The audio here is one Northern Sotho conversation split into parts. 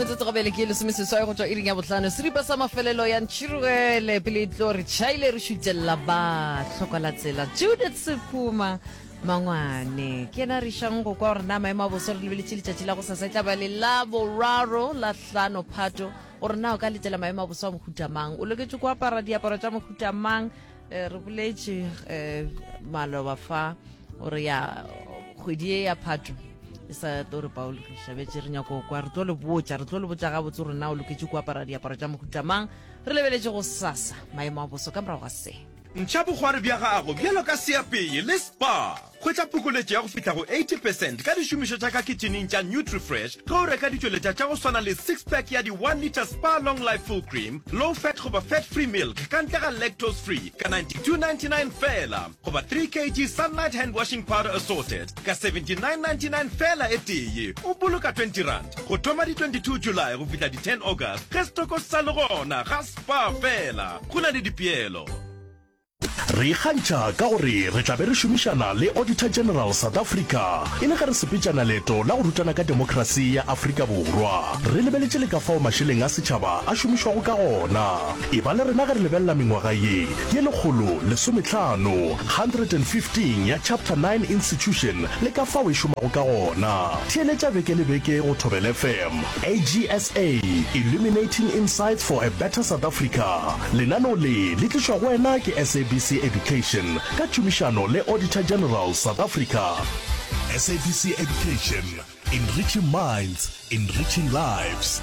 Metsotso gabele ke lesomeseswai go tšwa iring ya bohlano. Seripa sa mafelelo ya Ntšhirogele pele e tlo re tšhaile re šutelela ba hloka la tsela. Judith Sephuma Mangwane ke yena re išang go kwa gore na maemo a boso re lebeletše letšatši la go sasa e tla ba le la boraro la hlano Phato gore na o ka letela maemo a boso a mohuta mang o loketše go apara diaparo tša mohuta mang eh, re boletše eh, maloba fa gore ya kgwedi e ya phato e sa tlo re paologiša betse re nyako kwa re tlo le botša re tlo le botša gabotse gore na o loketše ko apara diaparo tša mohuta mang re lebeletše go sasa maemo a boso ka morago ga se Ntšha bokgwari bja gago bjalo ka seapei le Spar. Hwetša phokoletšo ya go fihla go 80 percent ka dišomišo tša ka kitšhining tša Nutrifresh ge o reka ditšweletša tša go swana le six pack ya di one litre Spar Long Life Full Cream, Low Fat goba Fat Free Milk ka ntle ga Lactose Free ka 92.99 feela goba 3 kg Sunlight Hand Washing Powder Assorted ka 79.99 feela e tee. O boloka 20 rand go thoma di 22 July go fihla di 10 August ge setoko se sa le gona ga Spar feela. Go na le dipeelo. Re ikgantšha ka gore re tla be re šomišana le Auditor General South Africa e le ge re sepetšana leeto la go rutana ka demokrasi ya Afrika Borwa. Re lebeletše le ka fao mašeleng a setšhaba a šomišwago ka gona. Eba le rena ge re lebelela mengwaga ye ye 115, 115, ya Chapter 9 Institution le ka fao e šomago ka gona. Theeletša beke le beke go Thobela FM. AGSA, Illuminating Insights for a Better South Africa. Lenaneo le le tlišwa go wena ke SABC Education ka tšhomišano le Auditor General South Africa. SABC Education, enriching minds, enriching lives.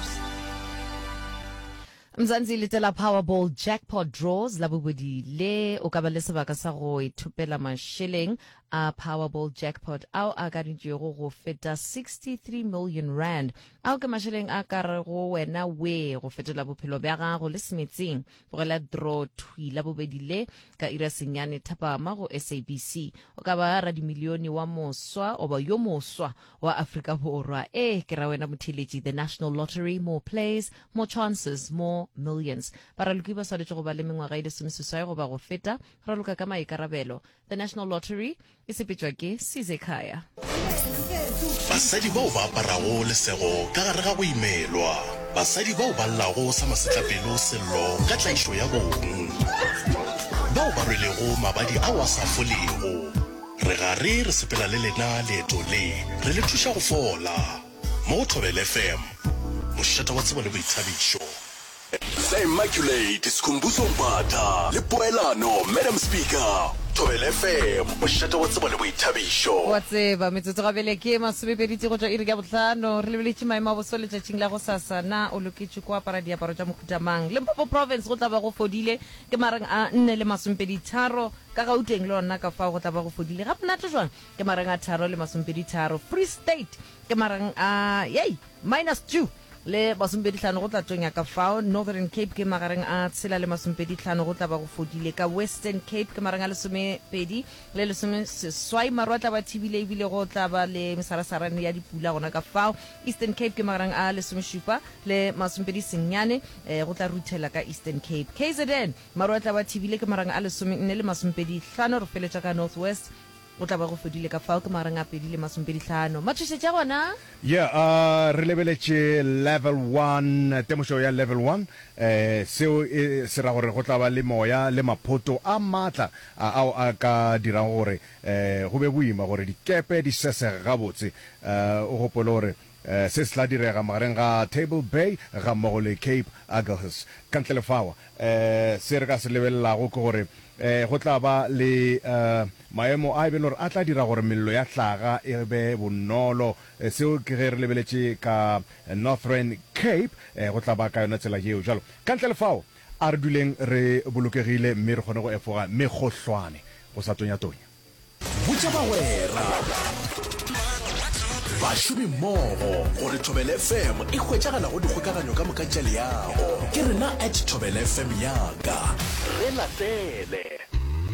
Mzansi letela Powerball Jackpot Draws la bobedi le o ka ba le sebaka sa go ithopela mašeleng a Powerball Jackpot ao a akaditšwego go feta 63 million rand. Ao ke mašeleng a ka rego wena we go fetola bophelo bja gago le semetseng. Bogela draw thwi la bobedi le ka ira senyane thapama go SABC. O ka ba radimilione wa moswa oba yo moswa wa Afrika Borwa. Ee, ke ra wena motheeletši. The National Lottery, more plays, more chances, more millions. Baraloki ba swanetše go ba le mengwaga e lesomeseswai goba go feta. Raloka ka maikarabelo. The National Lottery e sepetšwa ke Sizekhaya. Basadi bao ba aparago lesego ka gare ga go imelwa. Basadi bao ba llago sa masetlapelo sello ka tlaišo ya bong. Bao ba rwelego mabadi ao a sa folego. Re gare re sepela le lena leeto le, re le thuša go fola. Mo go Thobela FM, mošate wa tsebo le boithabišo. The Immaculate Skhumbuzo Mbatha le Poelano Madam Speaker. Thobela FM, mošate wa tsebo le boithabišo. Wa tseba, metsotso gabele ke masomepedi tee go tšwa iri ya bohlano. Re lebeletše maemo a boso letšatšing la gosasa. Na o loketše ko apara diaparo tša mohuta mang? Limpopo Province go tla ba go fodile ke mareng a nne le masomepedi tharo. Ka Gauteng le gona ka fao go tla ba go fodile ga monate jwang ke mareng a tharo le masomepedi tharo. Free State ke mareng a yei minus two le masomepedi hlano go tla tonya ka fao. Northern Cape ke magareng a tshela le masomepedi hlano go tla ba go fodile. Ka Western Cape ke mareng a lesomepedi le lesomeseswai maru a tla ba thibile ebile go tla ba le mesarasarane ya dipula gona ka fao. Eastern Cape ke magareng a lesomešupa le masomepedi senyane eh, go tla ruthela ka Eastern Cape. KZN Maru a tla ba thibile ke marang a lesomenne le masomepedi hlano, re feletša ka North West go tla ba go fedile ka fao ke marang a pedi le masomepedi hlano. Matšhošetši a gona? Yeah, uh, re lebeletše level one, temošo ya level one. Eh, seo e se ra gore go tla ba le moya le maphoto a matla ao a ka dirago gore eh, go be boima gore dikepe di sesege gabotse. Eh, o gopole gore eh, se se tla direga magareng ga Table Bay gammogo le Cape Agulhas. Ka ntle le fao, Se re ka se lebelelago ke gore go tla ba le maemo a e beng gore a tla dira gore mello ya hlaga e be bonolo. Seo ke ge re lebeletše ka Northern Cape, go tla ba ka yona tsela yeo. Bjalo, ka ntle le fao, a re duleng re bolokegile mme re kgone go efoga mekgohlwane go sa tonyatonya. Botša bagwera, bašomimmogo gore Thobela FM e hwetšagala go dikgokaganyo ka moka tša leago. Ke rena at Thobela FM ya ka. Re latele.